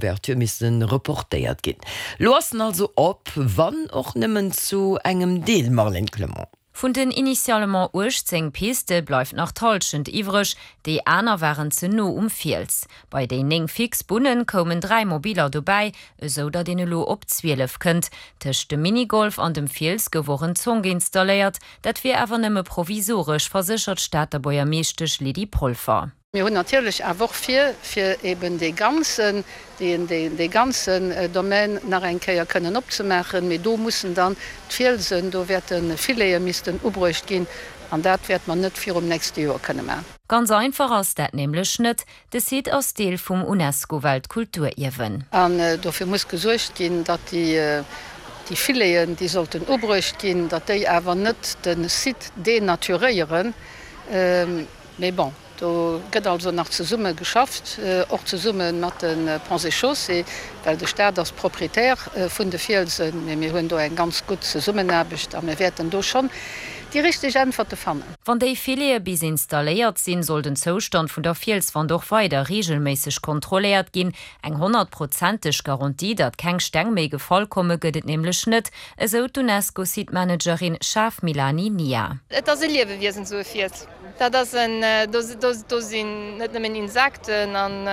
Ouverture misste reportéiert ginn. Lo ass en also op, wann och nëmmen zu engem Deel, Marlène Clement. Vun den initialement 18 Piste bleift nach d'Hallschent iwwreg, déi aner waren ze no um Fiels. Bei déi 9 fix Bunne koumen 3 Mobiller dobäi, esou datt een elo op 12 kënnt. Tëscht dem Minigolf an dem Fiels gouf och en Zonk installéiert, dat wier awer nëmme provisoresch, verséchert d'Stater Buergermeeschtesch Lydie Polfer. Mir hunn natierlech awer och vir, fir eben dee ganzen, dee ganzen Domaine nach eng Kéier kënnen opzemaachen. Mee do mussen dann d'Fielsen, do wäerte Filete missten ubruecht ginn an dat wäerte mer net virum nächste Joer kënne maachen. Ganz einfach ass dat nämlech net. De Site ass Deel vum UNESCO-Weltkulturierwen. An dofir muss gesuergt ginn, datt déi Fileten, déi sollten ubruecht ginn, datt déi awer net de Site denaturéieren. Mee bon, do gëtt also nach zesumme geschafft, och zesumme mat de Ponts et Chaussées, well de Staat ass Proprietär vun de Fielsen. Mee mir hunn do eng ganz gutt Zesummenaarbecht a mir wäerten do schonn déi richteg Äntwerte fannen. Wann déi Filete bis installéiert sinn, soll den Zoustand vun der Fielswand och weider reegelméisseg kontrolléiert ginn. Eng honnertprozenteg Garantie, datt keng Steng méi gefall komme gëtt et nämlech net, esou d'Unesco-Site-Managerin Shaf Milani Nia. Et ass e Liewewiesen, esou e Fiels. Dat ass en, do sinn net nëmmen Insekten an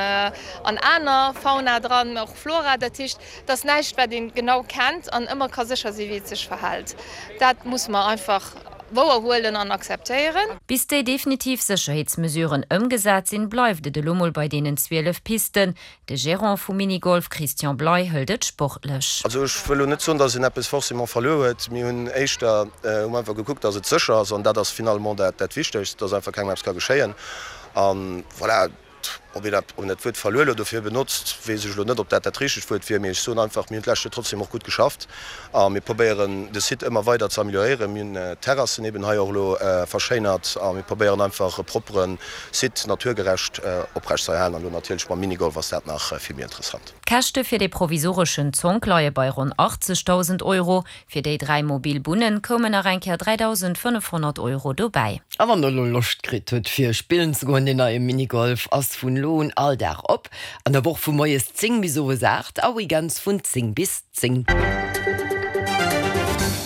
aner Fauna dran, mä och Flora. Dat heescht, et ass näischt, wat ee genau kennt an ëmmer ka sécher sinn, wéi et sech verhält. Dat musse mer einfach wouer huelen an akzeptéieren. Bis déi definitiv Sécherheetsmesuren ëmgesat sinn, bleift et elo mol bei deenen 12 Pisten. De Gerant vum Minigolf Christian Bley hëlt et sportlech. Also ech wëll elo net soen, datt een eppes forcément verluer huet. Mir hunn éischter hu mer einfach gekuckt, datt et sécher ass an dat ass finalement dat dat Wichtegst, datt einfach kengem eppes ka geschéien. A voilà, ob een dat, ob een dat Wuert verluer elo dofir benotzt, weess ech elo net, ob dat dat richtegt Wuert wier. Mee ech soen einfach, mir hunn d'lescht Joer trotzdem och gutt geschafft a mir probéieren de Site ëmmer weider ze amélioréieren. Mir hunn d'Terrassen eben hei och elo verschéinert a mir probéieren einfach e proppere Site naturgerecht oprecht ze erhalen an elo natierlech mam Minigolf ass dat nach vill méi interessant. D'Käschte fir dee provisoreschen Zonk leie bei ronn 80.000 Euro. Fir déi 3 mobil Bunne koumen nach eng Kéier 3.500 Euro dobäi. A wann der elo Loscht kritt hutt fir spillen ze goen, deen neie Minigolf ass vun elo un all Dag op, an der Woch vu moies 10 bis owes 8 a weekends vun 10 bis 10.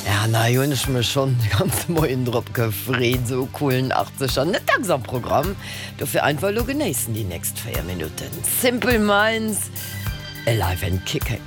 Ja, an hei hunn ech mech schonn de ganze Moien drop gefreet, esou e coolen Achtzeger. Net dacks am Programm, dofir einfach elo genéissen déi nächst 4 Minutten. Simple Minds, Alive and Kicking.